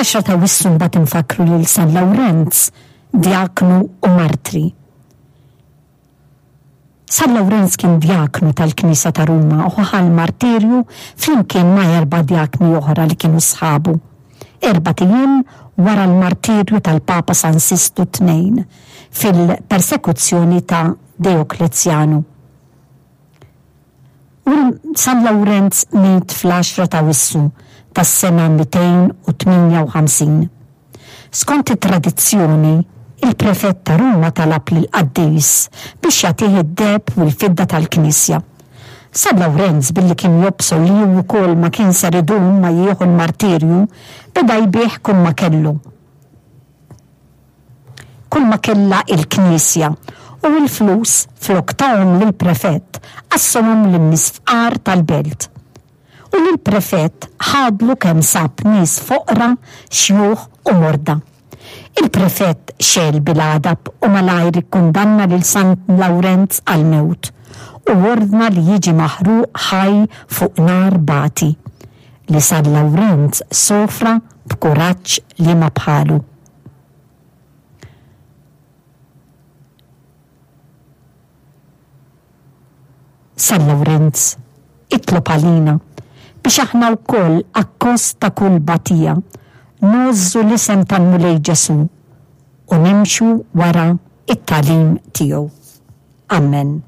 Fl-għaxra t'Awwissu mbagħad infakkru lil San Lawrenz, djaknu u martri. San Lawrenz kien djaknu tal-Knisja ta' Ruma u ħa l-martirju flimkien ma' erba' djakni oħra li kienu sħabu, erbat ijiem wara l-martirju tal-Papa San Sistu Tnejn fil-persekuzzjoni ta' Deoklezjanu. U San Lawrenz miet fl-għaxra t'Awissu tas-sena 258. Skont it-tradizzjoni, il-prefett ta' Ruma talab lill-qaddis biex jagħtih id-deheb u l-fidda tal-knisja. San Lawrenz, billi kien jobsor li hu wkoll ma kien ser idum ma jieħu l-martirju, beda jbigħ kulma kellu. Kulma kellha il-knisja, u l-flus flok tahom lill-prefett qassamhom lin-nies fqar tal-belt. U lill-prefett ħadlu kemm sab nies foqra, xjuħ u morda. Il-prefett xegħel bil-għadab u malajr ikkundanna lil San Lawrenz għall-mewt u ordna li jiġi maħruq ħaj fuq nar bati, li San Lawrenz sofra b'kuraġġ liema bħalu. San Lawrenz, itlob għalina biex aħna wkoll akkost ta' kull batija ngħożżu l-isem tal-Mulej Ġesù u nimxu wara t-tagħlim tiegħu. Ammen.